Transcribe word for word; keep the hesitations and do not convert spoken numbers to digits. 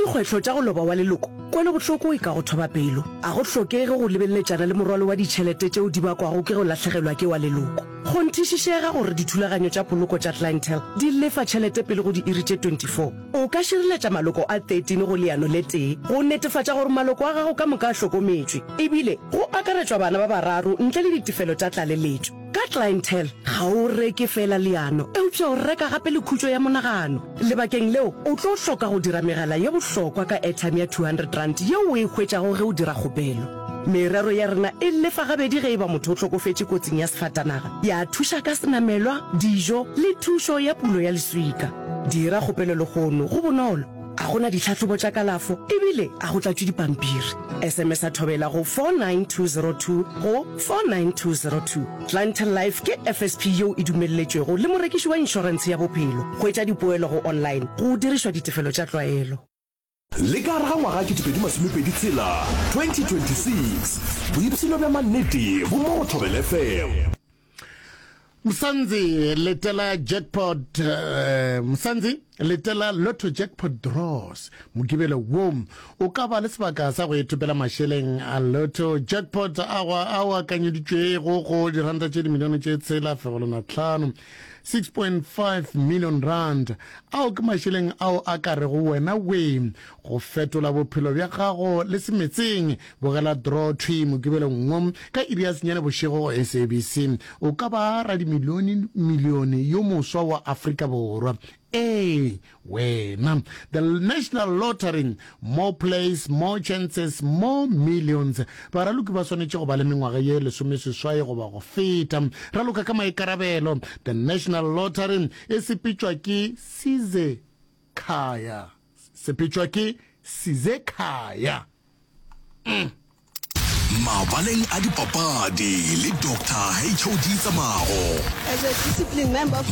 dikgwetlho tša go loba wa leloko, kwelobohloko e ka go thoba pelo. A go hlokege go lebeleletšana le morwalo wa ditšhelete tšeo di bakwago ke go lahlegelwa ke wa leloko. Kgonthišišega gore dithulaganyo tša poloko tša Clientele di lefa tšhelete pele go diiri tše twenty four O ka šireletša maloko a thirteen go leano le tee go netefatša gore maloko a gago ka moka a hlokometšwe, ebile go akaretšwa bana ba bararo ntle le ditefelo tša tlaleletšo. Ka Clientele, ga o reke feela leano, eupša o reka gape le khutšo ya monagano. Lebakeng leo, o tlo hloka go dira megala ye bohlokwa ka airtime ya two hundred rand yeo o e hwetšago ge o dira kgopelo. Merero ya rena e lefa gabedi ge e ba motho o hlokofetše kotsing ya sefatanaga, ya thuša ka senamelwa, dijo le thušo ya pulo ya leswika. Dira kgopelo lehono, go bonolo, ga go na ditlhahlobo tša kalafo ebile ga go tlatšwe dipampiri. S M S a Thobela go four nine two zero two go four nine two zero two. Clientele Life ke F S P yeo e dumelletšwego le morekiši wa inšorentshe ya bophelo. Hwetša dipoelo go online go dirišwa ditefelo tša tlwaelo. Le ka gare ga ngwaga ketepedi masomepedi tshela, twenty twenty-six, boipshino bja mannete bo mo go Thobela F M. Msanzi letela jackpot, uh, Msanzi letela Lotto Jackpot draws. Mokibelo wo o ka ba le sebaka sa go ithopela mašeleng a Lotto Jackpot a go ao akanyeditšwego go diranta tše dimilione tše tshela fegelwana tlhano, six point five million rand. Ao ke mašeleng ao a ka rego wena we go fetola bophelo bja gago le semetseng. Bogela draw thwi Mokibelong wo ka iri ya senyane bošego go S A B C. O ka ba radimilione milione yo moswa wa Afrika Borwa. Ee wena, the National Lottery, more plays, more chances, more millions. Baraloki ba swanetše go ba le mengwaga ye lesomeseswai goba go feta. Raloka ka maikarabelo. The National Lottery e sepetšwa ke Size Khaya, sepetšwa ke Size Khaya. Mabaleng a dipapadi le Doctor H O D Tsamago. As a disciplined member of